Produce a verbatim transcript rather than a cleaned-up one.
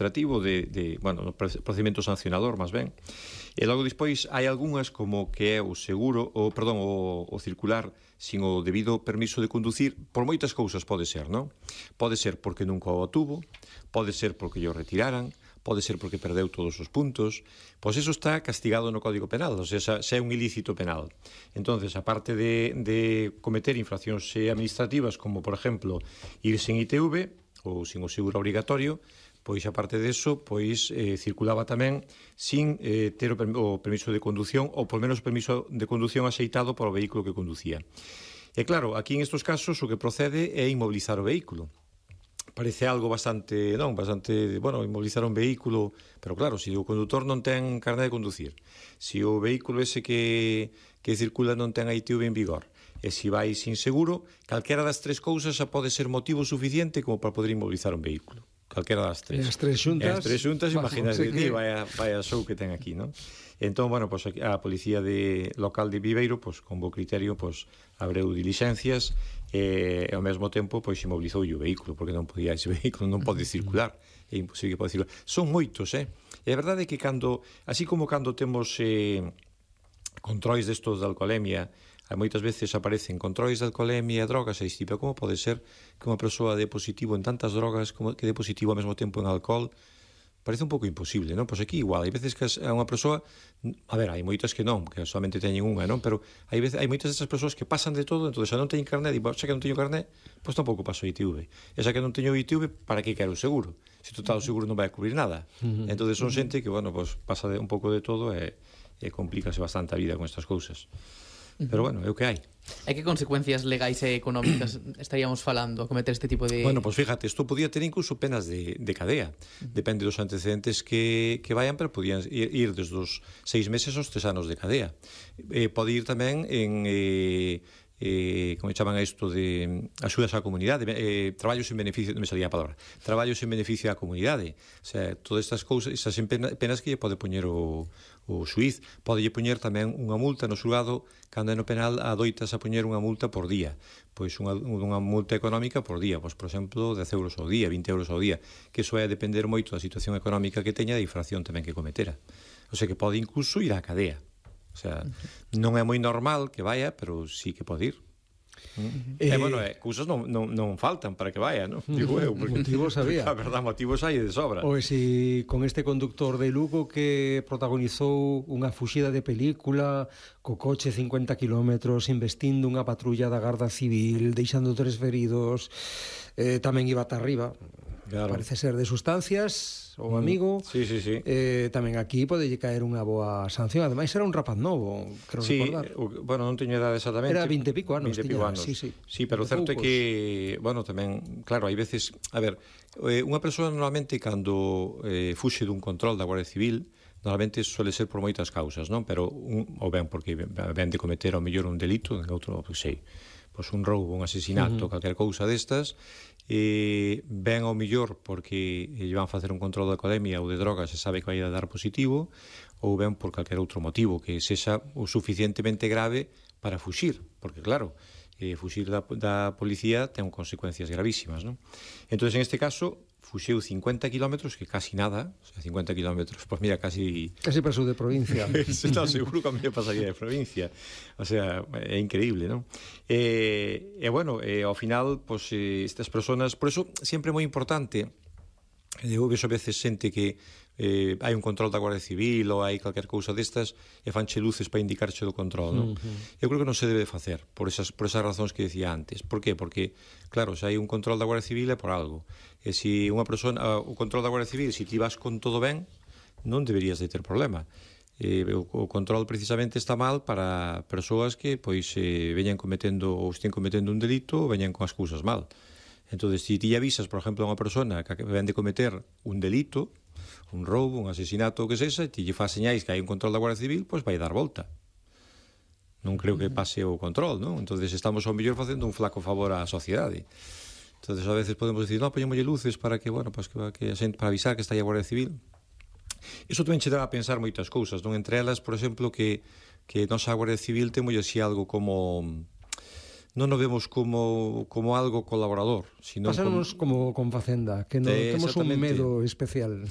administrativo de, de bueno, no procedimento sancionador, máis ben. E logo despois hai algunhas como que é o seguro, o, perdón, o, o circular sin o debido permiso de conducir, por moitas cousas pode ser, non? Pode ser porque nunca o tuvo, pode ser porque o retiraran, pode ser porque perdeu todos os puntos, pois eso está castigado no Código Penal, ou sea, xa é un ilícito penal. Entonces, aparte de, de cometer infraccións administrativas, como, por exemplo, ir sin I T V ou sin o seguro obrigatorio, pois, aparte deso, pois, eh, circulaba tamén sin eh, ter o, o permiso de condución, ou, por menos, o permiso de condución axeitado para o vehículo que conducía. E, claro, aquí, en estos casos, o que procede é inmobilizar o vehículo. Parece algo bastante, non, bastante, bueno, inmobilizar un vehículo, pero claro, se o condutor non ten carné de conducir, se o vehículo ese que, que circula non ten a I T V en vigor, e se vai sin seguro, calquera das tres cousas xa pode ser motivo suficiente como para poder inmobilizar un vehículo. Calquera das tres. E as tres xuntas... E as tres xuntas, imagínate, que... vaya, vaya show que ten aquí, non? Entón, bueno, pues, a policía de, local de Viveiro, pues, con bo criterio, pues, abreu dilixencias e, ao mesmo tempo, pois, inmobilizou o vehículo, porque non podía, ese vehículo non pode circular, é imposible que pode circular. Son moitos, eh? E a verdade é que cando, así como cando temos eh, controis destos de alcoholemia, moitas veces aparecen controis de alcoholemia e drogas, e dixi, pero como pode ser que unha persoa dé positivo en tantas drogas como que dé positivo ao mesmo tempo en alcohol? Parece un pouco imposible, non? Pois aquí igual, hai veces que a unha persoa, a ver, hai moitas que non, que solamente teñen unha, non? Pero hai veces hai moitas destas persoas que pasan de todo, entón xa non teñen carné, e xa que non teño carné, pois tampouco paso I T V. E xa que non teño I T V, para que quero o seguro? Se total o seguro non vai a cubrir nada. Entón son xente que, bueno, pois pasa de, un pouco de todo e, e complícase bastante a vida con estas cousas. Pero, bueno, é o que hai. E que consecuencias legais e económicas estaríamos falando a cometer este tipo de... Bueno, pois pues fíjate, isto podía ter incluso penas de, de cadea. Depende dos antecedentes que, que vayan, pero podían ir, ir desde os seis meses aos tres anos de cadea. Eh, pode ir tamén en... Eh, eh, como chaman a isto de axudas á comunidade, eh, traballos en beneficio, non me salía a palabra, traballos en beneficio á comunidade, o sea, todas estas cousas, esas penas que lle pode poñer o, o xuiz, pode lle poñer tamén unha multa no xulgado, cando é no penal adoitas a poñer unha multa por día, pois unha, unha multa económica por día, pois por exemplo dez euros ao día, vinte euros ao día, que iso vai a depender moito da situación económica que teña, da infracción tamén que cometera, o sea que pode incluso ir á cadea. O sea, non é moi normal que vaya, pero sí que pode ir. Uh-huh. E, eh, bueno, eh, cousas non, non, non faltan para que vaya, non? Digo eu, porque motivos había. A verdade, motivos hai de sobra. Ou si con este conductor de Lugo que protagonizou unha fuxida de película co coche cincuenta kilómetros, investindo unha patrulla da Garda Civil, deixando tres feridos, eh, tamén iba ata arriba. Claro. Parece ser de sustancias, o amigo. Mm, sí, sí, sí. Eh, tamén aquí pode caer unha boa sanción. Ademais era un rapaz novo, creo sí, recordar. O, bueno, non teño edade exactamente. Era vinte e pico anos. vinte e pico anos. Sí, sí. Sí, pero o certo é que, bueno, tamén, claro, hai veces, a ver, eh, unha persoa normalmente cando eh, fuxe dun control da Guardia Civil, normalmente suele ser por moitas causas, non? Pero, un, ou ben porque ven de cometer ao mellor un delito, en outro, pois sei, pois un roubo, un asesinato, uh-huh. calquer cousa destas, eh, ben ao millor porque lle van facer un control de alcoholemia ou de drogas e sabe que vai a dar positivo, ou ben por calquer outro motivo que sexa o suficientemente grave para fuxir, porque claro, eh, fuxir da, da policía ten consecuencias gravísimas, non? Entón, en este caso, fuxeu cincuenta kilómetros, que casi nada, o sea, cincuenta kilómetros, pois pues mira, casi... Casi pasou de provincia. No, seguro que a mí me pasaría de provincia. O sea, é increíble, non? E, eh, bueno, eh, ao final, pois, pues, eh, estas personas... Por eso, sempre é moi importante, eu vexo a veces xente que eh, hai un control da Guardia Civil ou hai calquer cousa destas e fanche luces para indicarche do control, non? Uh-huh. Eu creo que non se debe facer por esas, por esas razóns que decía antes. Por qué? Porque, claro, se hai un control da Guardia Civil é por algo. E se unha persona, o control da Guardia Civil, se ti vas con todo ben, non deberías de ter problema. Eh, o, o control precisamente está mal para persoas que pois eh, veñan cometendo ou estén cometendo un delito ou veñan con as cousas mal. Entón, se ti avisas, por exemplo, a unha persona que ven de cometer un delito, un roubo, un asesinato, o que sexa, e ti lle faz señais que hai un control da Guardia Civil, pois vai dar volta. Non creo que pase o control, non? Entón, estamos ao mellor facendo un flaco favor á sociedade. Entón, a veces podemos dicir, non, poñémolle luces para que, bueno, pues, que, que a xente, para avisar que está aí a Guardia Civil. Iso tamén che dá a pensar moitas cousas, non? Entre elas, por exemplo, que, que nosa Guardia Civil temos así algo como... non nos vemos como, como algo colaborador, sino pasamos como, como con Facenda, que non temos un medo especial.